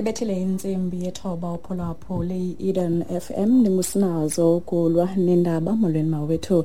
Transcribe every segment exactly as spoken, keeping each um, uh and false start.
Ibethile intsimbi yethoba uphulaphuli i-Eden F M ndingusinazo ukulwa nendaba. Molweni mawethu.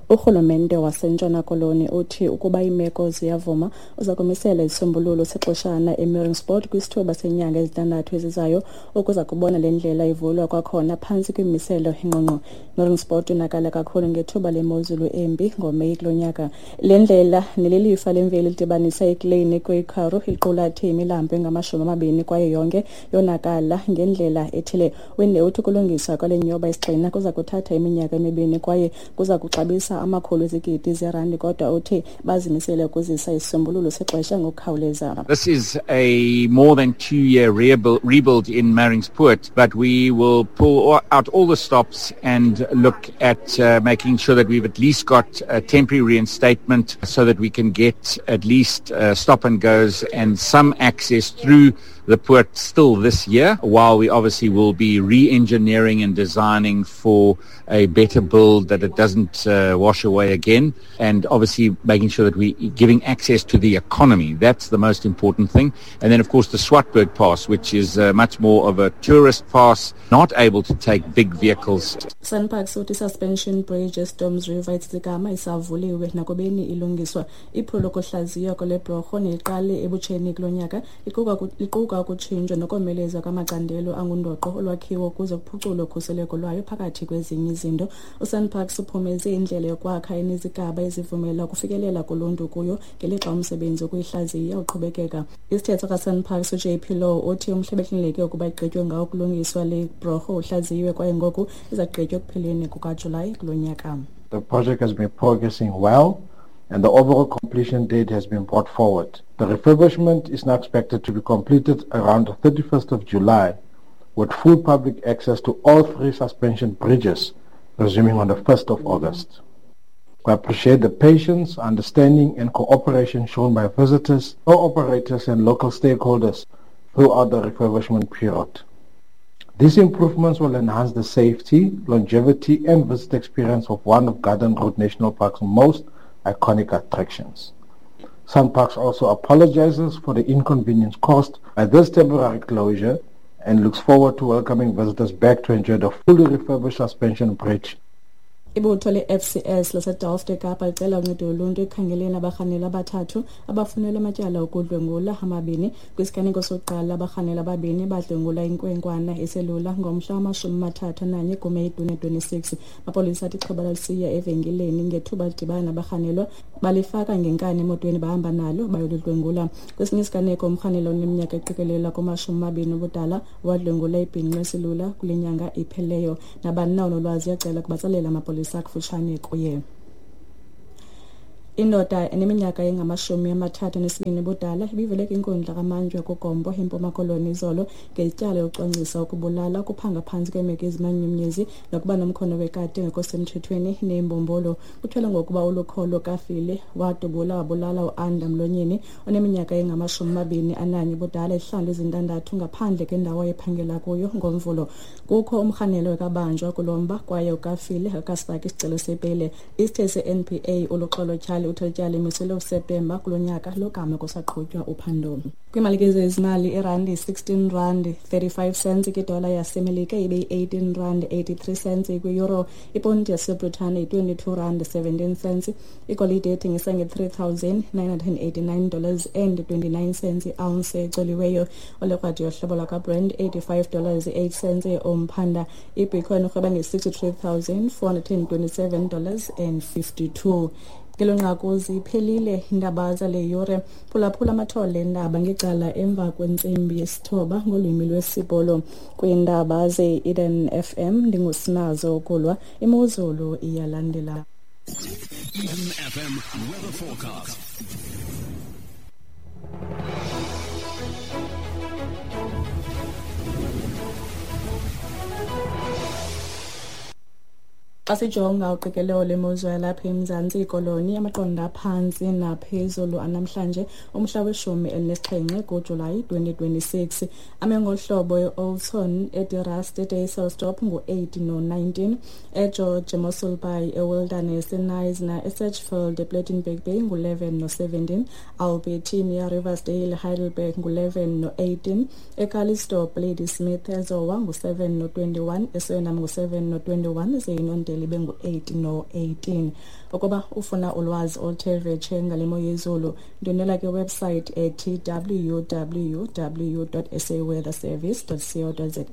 Urhulumente waseNtshona Koloni uthi ukuba iimeko ziyavuma uza kumisela isisombululo sexeshana eMeiringspoort kwisithuba senyanga ezintandathu ezizayo ukuza kubona le ndlela ivulwa kwakhona phantsi kwimimiselo engqongqo. Meiringspoort yonakala kakhulu ngethuba lemozulu embi ngoMeyi kulo nyaka. Le ndlela nelilifa lemveli lidibanisa iKlein kwiKharu iqulathe imilambo engamashumi amabini kwaye yonke yonakala ngendlela ethile. Winde uthi ukulungiswa kwale nyoba isigxina kuza kuthatha iminyaka emibini kwaye kuza kuxabisa amakhulu ezigidi zerandi, kodwa uthi bazimisele ukuzisa isisombululo sexesha ngokukhawuleza. This is a more than two-year rebuild, rebuild in Meiringspoort, but we will pull out all the stops and look at uh, making sure that we've at least got a temporary reinstatement so that we can get at least uh, stop and goes and some access through the port still this year, while we obviously will be re-engineering and designing for a better build that it doesn't uh, wash away again, and obviously making sure that we're giving access to the economy. That's the most important thing. And then, of course, the Swartberg Pass, which is uh, much more of a tourist pass, not able to take big vehicles. SANParks uthi suspension bridge eStorms River eTsitsikamma isavuliwe nakubeni ilungiswa. Iphulo lokuhlaziywa kwale bhorho neliqale ebutsheni kulo nyaka liquka ukutshintshwa nokomelezwa kwamacandelo angundoqo olwakhiwo ukuze kuphuculwe ukhuseleko lwayo phakathi kwezinye izinto. USANParks uphumeze indlela yokwakha enezigaba ezivumela ukufikelela kuluntu kuyo ngelixa umsebenzi wokuyihlaziya uqhubekeka. Isithethi kaSANParks uJ P Law uthi umhla behleleke ukuba igqitywe ngawo ukulungiswa le bhorho uhlaziyiwe kwaye ngoku iza kugqitywa ekupheleni kukaJulayi kulo nyaka. The project has been progressing well and the overall completion date has been brought forward. The refurbishment is now expected to be completed around the thirty-first of July, with full public access to all three suspension bridges resuming on the first of August. We appreciate the patience, understanding and cooperation shown by visitors, operators and local stakeholders throughout the refurbishment period. These improvements will enhance the safety, longevity and visitor experience of one of Garden Route National Park's most iconic attractions. SANParks also apologizes for the inconvenience caused by this temporary closure and looks forward to welcoming visitors back to enjoy the fully refurbished suspension bridge. Ibutho le-F C S laseDelft eKapa licela uncedo loluntu ekukhangeleni abarhanelwa abathathu abafunelwe amatyala okudlwengula amabini. Kwisiganeko sokuqala abarhanelwa ababini badlwengula inkwenkwana eselula ngomhla wamashumi amathathu ananye kuMeyi twenty twenty-six. Amapolisa athi ixhoba lalisiya evenkileni ngethuba lidibana nabarhanelwa balifaka ngenkani emotweni bahamba nalo bayolidlwengula. Kwesinye isiganeko umrhanelwa oneminyaka eqikelelwa kumashumi amabini ubudala wadlwengula ibhinqa eselula kule nyanga ipheleyo. Nabani na onolwazi uyacela kubatsalela amapolisa kufutshane kuye. Indoda eneminyaka engamashumi amathathu anesibini ubudala ibivele kwinkundla kaMantyi kuGompo eMpuma Koloni izolo ngetyala lokucwangcisa ukubulala, ukuphanga phantsi kweemeko ezimanyumnyezi nokuba nomkhono wekati engekho semthethweni neembombolo. Kutyholwa ngokuba uLukholo Kafile wadubula wabulala uAnda Mlonyeni oneminyaka engamashumi amabini ananye ubudala izihlandlo ezintandathu ngaphandle kwendawo ayephangela kuyo ngoMvulo. Kukho umrhanelwa ekabanjwa kulo mba kwaye uKafile akasifaki isicelo sebheyile. Isithethi se-N P A uLuxolo Tyhali uthe ityala limiselwe uSeptemba kulo nyaka logama kusaqhutywa uphando. Kwiimali zezimali irandi sixteen rand thirty-five cents kwidola yaseMelika ibe yi-eighteen rand eighty-three cents kwi-euro, iponti yaseBritane yi-twenty-two rand seventeen cents, igolide ethengisa nge-three thousand nine hundred eighty-nine dollars and twenty-nine cents i-ounce ecoliweyo. Olekrwada yohlobo lwakwaBrent eighty-five dollars eight cents umphanda. IBitcoin irhweba nge-sixty-three thousand four hundred twenty-seven dollars and fifty-two. Ngelo nqaku ziphelile iindaba zale yure. Phulaphula amathole endaba ngecala emva kwentsimbi yesithoba ngolwimi lwesiBhulu. Kwiindaba ze-Eden F M ndingusinazo ukulwa. Imozulu iyalandela. Eden F M weather forecast. Xa sijonga uqikelelo lemozulu yalapha eMzantsi ikoloni, amaqondo aphantsi naphezulu anamhlanje umhla weshumi elinesixhenxe kuJulayi twenty twenty-six ame ngohlobo: e-Alton, eDe Rust, eDysselsdorp ngu-eight no nineteen, eGeorge, eMossel Bay, eWilderness, eKnysna, eSedgefield, ePlettenberg Bay ngu-eleven no seventeen, Albertinia, Riversdale, Heidelberg ngu-eleven no eighteen, eCalitzdorp, Ladysmith, eZowa ngu-seven no twenty-one, eSuriname ngu-seven no twenty-one, ze iNondeli ibe ngu-eight no eighteen. Ukuba ufuna ulwazi oluthe vetshe ngale mo yezulu, ndwendwela kwiwebsite ethi W W W dot S A weather service dot co dot za.